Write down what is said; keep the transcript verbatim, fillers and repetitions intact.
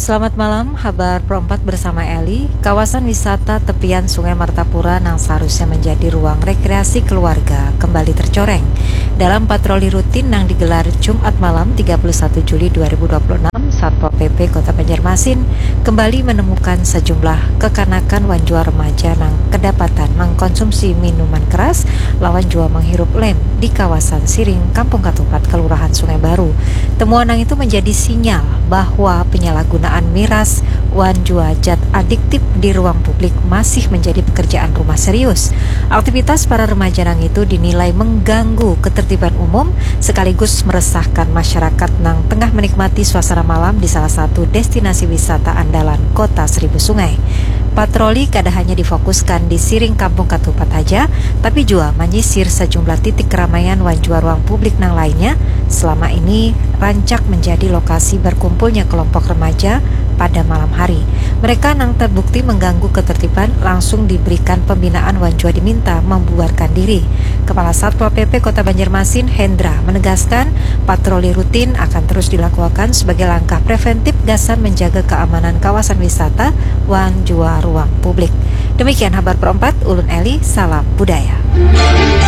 Selamat malam, habar Pro empat bersama Eli. Kawasan wisata tepian Sungai Martapura nang seharusnya menjadi ruang rekreasi keluarga kembali tercoreng. Dalam patroli rutin nang digelar Jumat malam tiga puluh satu Juli dua ribu dua puluh enam, Satpol P P Kota Banjarmasin kembali menemukan sejumlah kekanakan wan jua remaja nang kedapatan mengkonsumsi minuman keras lawan jua menghirup lem di kawasan Siring, Kampung Katupat, Kelurahan Sungai Baru. Temuan nang itu menjadi sinyal bahwa penyalahgunaan miras wan jua zat adiktif di ruang publik masih menjadi pekerjaan rumah serius. Aktivitas para remaja nang itu dinilai mengganggu ketertiban umum sekaligus meresahkan masyarakat nang tengah menikmati suasana malam di salah satu destinasi wisata andalan Kota Seribu Sungai. Patroli kada hanya difokuskan di Siring, Kampung Katupat haja, tapi jua manyisir sejumlah titik keramaian wan jua ruang publik nang lainnya selama ini rancak menjadi lokasi berkumpulnya kelompok remaja pada malam hari. Mereka nang terbukti mengganggu ketertiban langsung diberikan pembinaan wan jua diminta membubarkan diri. Kepala Satpol P P Kota Banjarmasin, Hendra, menegaskan patroli rutin akan terus dilakukan sebagai langkah preventif gasan menjaga keamanan kawasan wisata wan jua ruang publik. Demikian habar Pro empat, ulun Eli, salam budaya.